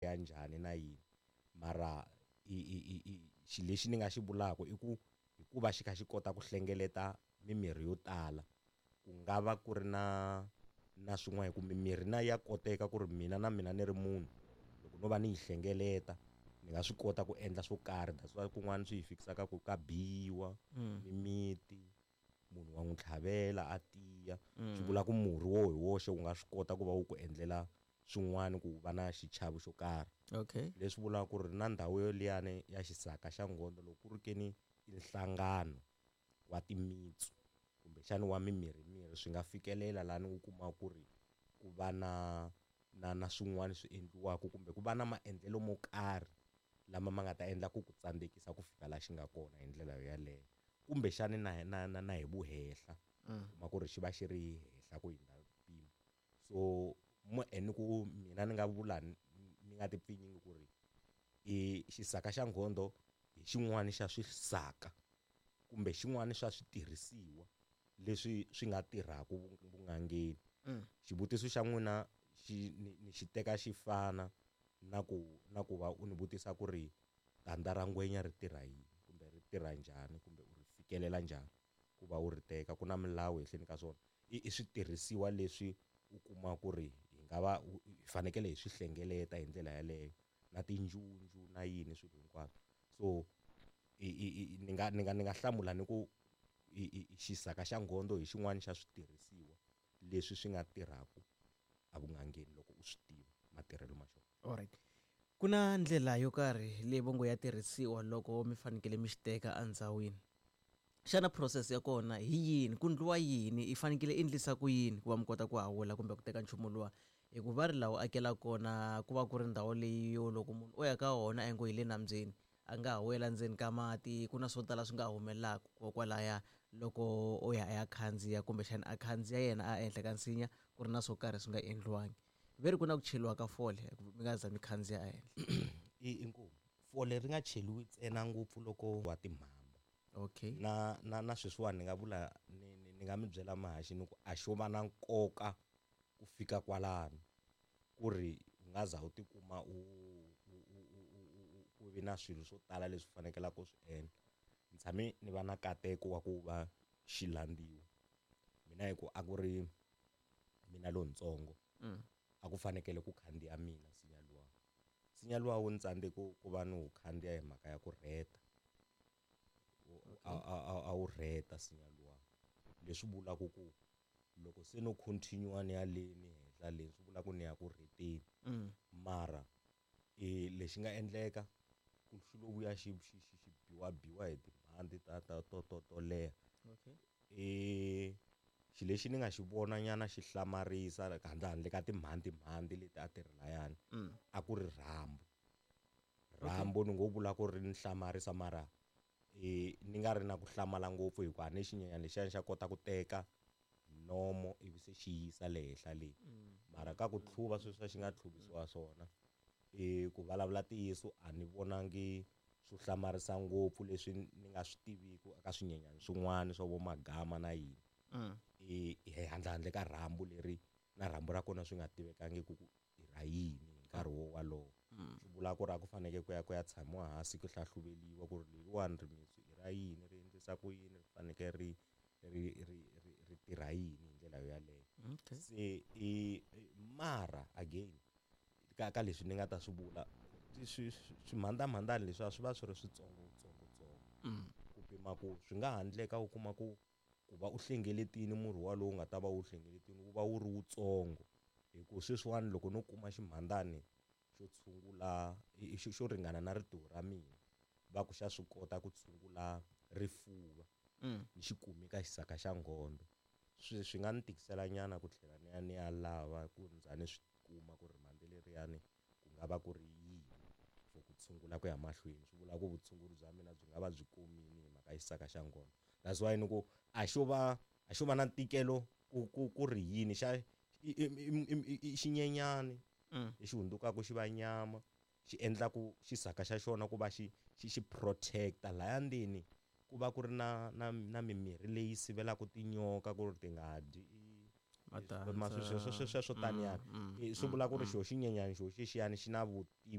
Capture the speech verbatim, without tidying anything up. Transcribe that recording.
Ya njhani na yini, mara i i i i xilo lexi ni nga xi vulaka i ku hikuva xi kha xi kota ku hlengeleta mimirhi yo tala, ku nga va ku ri na na swin'wana, hi ku mimirhi na ya koteka ku ri mina na mina ni ri munhu loko no va ni yi hlengeleta ni nga swi kota ku endla swo karhi. That's why kun'wana swi hi fikisaka ku ka biwa mimiti, munhu wa n'wi tlhavela a tiya. Swi vula ku murhi wo hi woxe wu nga swi kota ku va wu ku endlela swin'wana ku va na xichavo xo karhi. Okay. Leswi vulaka ku ri na ndhawu yo liyani ya xisaka xa nghondo, loko ku ri ke ni i nhlangano wa timitsu kumbexani wa mimirhi mirhi, swi nga fikelela lani u kuma ku ri ku va na na na swin'wana swi endliwaka kumbe ku va na maendlelo mo karhi lama ma nga ta endla ku ku tsandzekisa ku fika laha xi nga kona hi ndlela yaleyo, kumbexani na na na na hi vuhehla kuma ku ri xi va xi ri henhla ku hundza mpimo. So mo ni ku mina ni nga vula ni nga ti pfinyingi ku ri i xisaka xa nghondo hi xin'wana xa swisaka kumbe xin'wana xa switirhisiwa leswi swi nga tirhaka vun'angeni. Xivutiso xa n'wina xi ni, ni xi teka xi fana na ku na ku va u ni vutisa ku ri tandza ra ngwenya ri tirha yini kumbe ri tirha njhani kumbe u ri fikelela njhani ku va u ri teka, ku na milawu ehenhleni ka swona. I, i switirhisiwa leswi u kuma ku ri hi nga va hi fanekele hi swi hlengeleta hi ndlela yaleyo na tinjunju na yini swilo hinkwaswo. So i, i, i, ni nga ni nga ni nga hlamula ni ku i, i, xisaka xa nghondo hi xin'wana xa switirhisiwa leswi swi nga tirhaka evun'angeni loko u swi tiva matirhelo ma xona. Alright. Ku na ndlela yo karhi leyi vongo ya tirhisiwa loko mi fanekele mi xi teka endzhawini. Xana process ya kona hi yini? Ku ndliwa yini? I fanekele i endlisa ku yini ku va mi kota ku hawula kumbe ku teka nchumu luwa? Hikuva va ri laha u akela kona ku va ku ri ndhawu leyi yo loko munhu o ya ka wona a ngo hi le nambyeni, a nga ha wela ndzeni ka mati, ku na swo tala swi nga humelelaka kokwalaya loko o ya a ya khandziya kumbexana a khandziya yena a ehenhla ka nsinya ku ri na swo karhi swi nga endliwangi. Ve ri ku na ku cheliwa ka fole mi nga za mi khandziya ehenhla. I inkomu fole ri nga cheliwi ntsena ngopfu loko wa timhamba. Okay. Na na na sweswiwani ni nga vula ni, ni, ni nga mi byela mahaxi ni ku a xo va na nkoka ku fika kwalano ku ri u nga za u tikuma u, u, u, u, u, u, ku vi na swilo swo tala leswi fanekelaka ku swi endla. Ni tshame ni va na nkateko wa ku va xilandziwa mina hi ku a ku ri mina lontsongo. Mm. A ku fanekele ku khandziya mina nsinya luwa. Nsinya luwa wu ni tsandze ku, ku va ni wu khandziya hi mhaka ya ku rheta. Okay. A, a, a, a wu rheta nsinya luwa. Leswi vulaka ku loko se no continue ni ya le ni henhla le, swi vula ku ni ya ku rheteni. Mm. Mara e lexi nga endleka ku xi lo vuya xi, xi, xi, xi biwa biwa hi timhandzi ta, ta, to, to, to leha. Okay. E xilo lexi ni nga xi vona nyana xi hlamarisa handle handle ka timhandzi mhandzi leti a ti ri layani, Mm. a ku ri rhambu. Rhambu ni ngo vula ku ri ni hlamarisa, mara e ni nga ri na ku hlamala ngopfu hikuva ni xinyenyana lexiya xa kota ku teka nomo ivi se xi yisa le henhla le. Mm. Mara ka ku tlhuva sweswi xi nga tlhuvisiwa swona, e ku vulavula ntiyiso a ni vonangi swo hlamarisa ngopfu leswi ni nga swi tiviku eka swinyenyana swin'wana swa vo magama na yini. Mm. E hi handle handle ka rhambu leri na rhambu ra kona swi nga tivekangi ku i ra yini hi nkarhi wo walowo. Mm. Swi vula ku ri a ku fanekele ku ya ku ya tshamiwa hansi ku hlahluveliwa ku ri leriwani rimitsu i ra yini, ri endlisa ku yini, ri fanekele ri, ri, ri, ri, ri tirha yini hi ndlela yoyaleyo. Okay. Se i, mara again ka, ka leswi ni nga ta swi vula, swi, swi, swimhandamhandani leswi a swi va swi ri switsongo tsongo tsongo. Mm. Ku pima ku swi nga handleka u kuma ku, ku va u hlengeletile murhi walowu nga ta va wu hlengeletile wu va wu ri wutsongo. Hi ku sweswiwani loko no kuma ximhandani xo tshungula, i, i, xo, xo ringana na ritiho ra mina, va ku xa swi kota ku tshungula rifuva. Mm. Ni xi kumi ka xisaka xa nghondo. Swi, swi nga ni tikisela nyana ku tlhela ni ya ni ya lava ku ndza ni swi kuma ku ri mhandzi leriyani ku nga va ku ri yini for ku tshungula ku ya mahlweni. Swi vula ku vutshunguri bya mina byi nga va byi komile hi mhaka xisaka xa nghondo. That's why ni ku a xo va, a xo va na ntikelo ku, ku, ku ri yini xa i, i, i, i, i xinyenyani Mm. lexi hundzukaka xi va nyama, xi endla ku xisaka xa xona ku va xi, xi, xi protecta laya ndzeni, ku va ku ri na, na, na mimirhi leyi sivelaka tinyoka ku ri ti nga dyi Va dansa. sweswo taniyani Mm, mm, swi vula ku ri mm. xo xinyenyani xo xexiyani xi na vutivi.